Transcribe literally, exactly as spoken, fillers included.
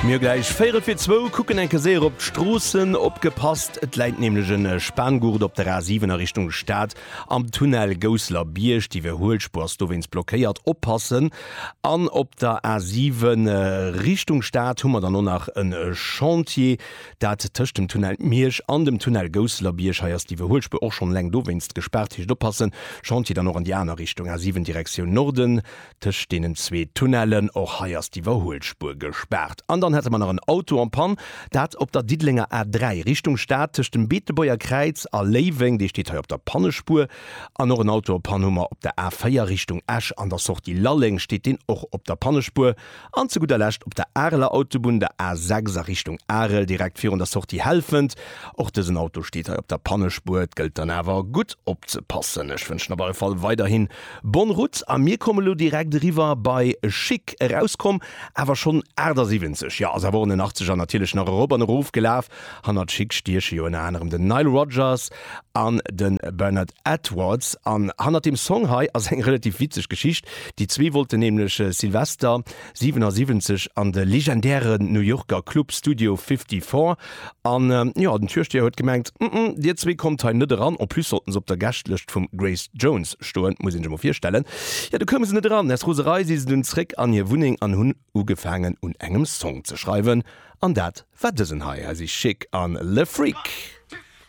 Mir hu gläich véierel fir zwou, kucken eng Kéier séier op d'Stroossen. Opgepasst, et läit nämlech en Spanngurt op der A siwen a Richtung Stad am Tunnel Gousseler Bierg. D'Iwwerhuelspuer ass dowéinst blockéiert, oppassen! An op der A siwen Richtung Stad hu mer dann och nach en Chantier, dat tëscht dem Tunnel Miersch an dem Tunnel Gousseler Bierg. Hei ass d'Iwwerhuelspuer och schonn eleng dowéinst gespaart, heescht oppassen! Chantier dann och an déi aner Richtung, A siwen Direktioun Norden. Tëscht deenen zwee Tunnellen, och hei ass d'Iwwerhuelspuer gespaart. An dann hätte mer nach en Auto en panne, dat op der Diddelenger A dräi Richtung Stad tëscht dem Beetebuerger Kräiz a Léiweng, dee steet hei op der Pannespuer. An och en Auto en panne hu mer op der A véier Richtung Esch an der Sortie Lalleng, steet deen och op der Pannespuer. An zu gudder Lescht op der Areler Autobunn, der A sechs a Richtung Arel, direkt virun der Sortie Helfent, och dësen Auto steet hei op der Pannespuer. Et gëllt dann awer gutt opzepassen. Ech wënschen op alle Fall weiderhin bonne route a mir komme lo direkt eriwwer bei Chic. Erauskomm awer schonn achtasiwwenzeg, jo ass awer och an den Achtzeger natierlech nach erop an erof gelaf. Hannert Chic stieche jo ënner anerem den Nile Rodgers an de Bernard Edwards. An hannert deem Song hei ass eng relativ witzeg Geschicht. Déi zwee wollten nämlech Silvester siwenasiwwenzeg an de legendären New Yorker Club Studio fifty-four an jo den Türsteher huet gemengt, Mm-mm, dir zwee kommt hei net eran. En plus sollten se op der Gäschtlëscht vum Grace Jones stoen, muss een sech emol virstellen. Jo, du koume se net eran. Aus Roserei si se dunn zréck an hir Wunneng an hunn ugefaangen un engem Song ze schreiwen. An dat war dësen hei. Hei si Chic an Le Freak.